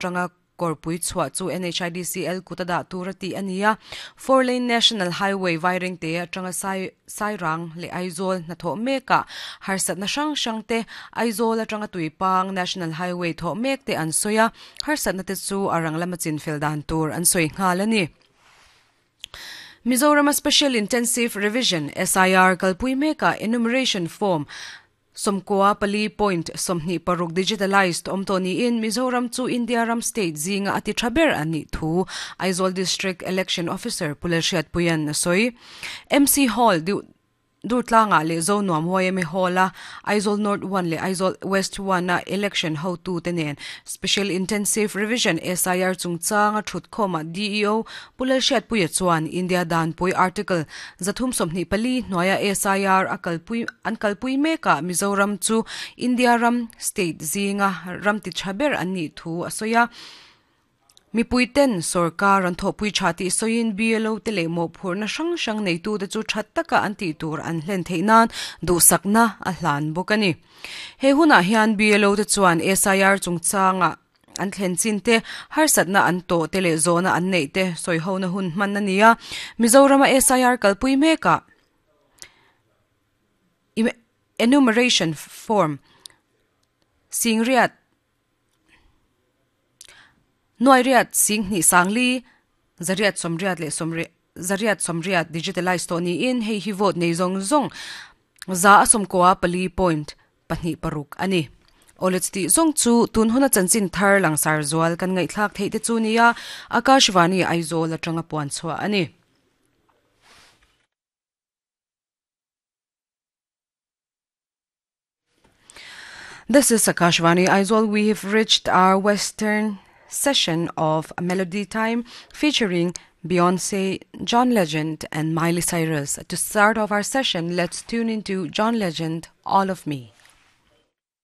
Atanga kawrpui chhuah chu NHIDCL kut a dah tur a tih a ni a. Four lane National Highway Vairengte atanga Sai Sairang leh Aizawl hnathawh mekah harsatna hrang hrang te Aizawl atanga Tuipang National Highway thawh mek te an sawi a, harsatna te chu a rang lama chinfel dan tur an sawi nghal a ni. Mizorama Special Intensive Revision, SIR, kalpui mekah Enumeration Form 94 point 26 digitalised awm tawh niin Mizoram chu India ram state zinga a ti tha ber a nih thu Aizawl District Election Officer Pu Lalhriatpuia'n a sawi. MC Hall Durtlangah leh Zonuam yma Hall-a Aizawl North One leh Aizawl West One-a election hotute nen Special Intensive Revision, SIR, chungchanga thutkhawmah DEO Pu Lalhriatpuia chuan India Danpui Article 324 hnuaia SIR a kalpui an kalpui mekah Mizoram chu India ram state zinga ram ti tha ber an nih thu a sawi a. Mipuiten sorkar an thawhpui tha tih sawiin BLO te leh mawhphurhna hrang hrang neitute chu tha taka an tih tur an hlen theih nan duhsakna a hlan bawk a ni. He hunah hian BLO te chuan SIR chungchangah an thlen chin te, harsatna an tawh te leh zawhna an neih te sawihona hun hman a ni a. Mizorama SIR kalpui mekah Enumeration Form Singriat Nuairiat Singhnih Sangli Zariat Sawmriat leh Sawmriat Zariat Sawmriat Digitalize tawh niin hei hi vote nei zawng zawng 114.26 a ni. Awle chutih zawng chu tun huna chanchin thar langsar zual kan ngaihthlak theih te chu nia Akashvani Aizawl atanga puan chhuah a ni. This is Akashvani Aizawl. We have reached our Western session of Melody Time featuring Beyonce, John Legend, and Miley Cyrus. To start off our session, let's tune into John Legend, All of Me.